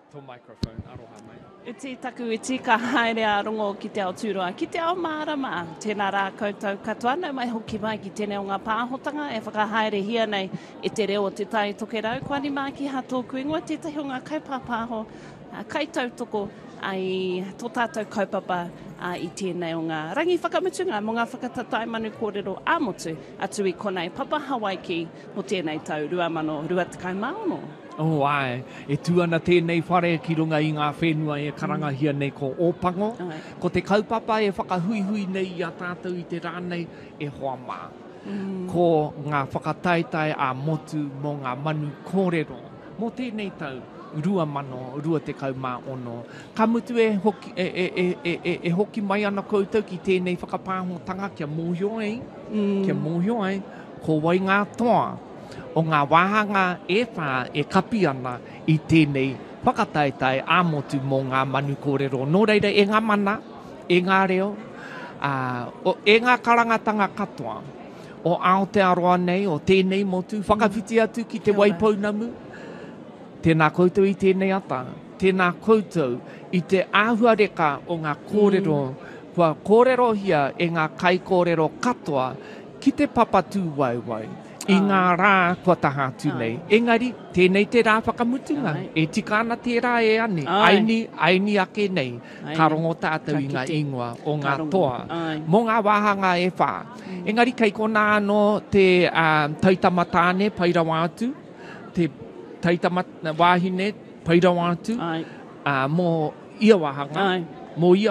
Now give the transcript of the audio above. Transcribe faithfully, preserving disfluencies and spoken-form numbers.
Tō microphone, aroha mai. Iti taku iti, ka haere a Rongo ki te ao tūroa, ki te ao mārama. Tēnā rā koutou katoa, nau mai hoki mai ki tēnei o ngā pāhotanga e whakahaerehia nei e te reo o Te Tai Tokerau. Ko Ani Mākiha tōku ingoa, tētahi o ngā kaipāpāho, kaitautoko i tō tātou kaupapa i tēnei o ngā rangi whakamutunga mō ngā whakatatae manu kōrero ā-motu atu i konei Papa Hawaiki mō tēnei tau rua mano rua tekau mā ono. Oh, āe, e tū ana tēnei whare ki runga i ngā whenua e karangahia nei ko Ōpango. Ko te kaupapa e whakahuihui nei i a tātou i te rā nei, e hoa mā. Ko ngā whakataetae ā-motu mō ngā manu kōrero mō tēnei tau rua mano rua tekau mā ono. Ka mutu e hoki, e, e, e, e, e, e hoki mai ana koutou ki tēnei whakapāhotanga kia mōhio ai, kia mōhio ai ko wai ngā toa o ngā wāhanga e whā e kapi ana i tēnei whakataetae ā-motu mō ngā manu kōrero. Nō reira, e ngā mana, e ngā reo, ā, o, e ngā karangatanga katoa o Aotearoa nei, o tēnei motu, whakawhiti atu ki Te Waipounamu, tēnā koutou i tēnei ata, tēnā koutou i te āhuareka o ngā kōrero kua kōrerohia e ngā kaikōrero katoa ki te papa tūwaewae i ngā rā kua taha atu nei. Engari, tēnei te rā whakamutunga, e tika ana tērā e Ani, aini, aini ake nei, ka rongo tātou i ngā ingoa o ngā toa mō ngā wāhanga e whā. Engari kei konā anō te taitama tāne pai rawa atu, te taitama wāhine pai rawa atu, mō ia wāhanga, mō ia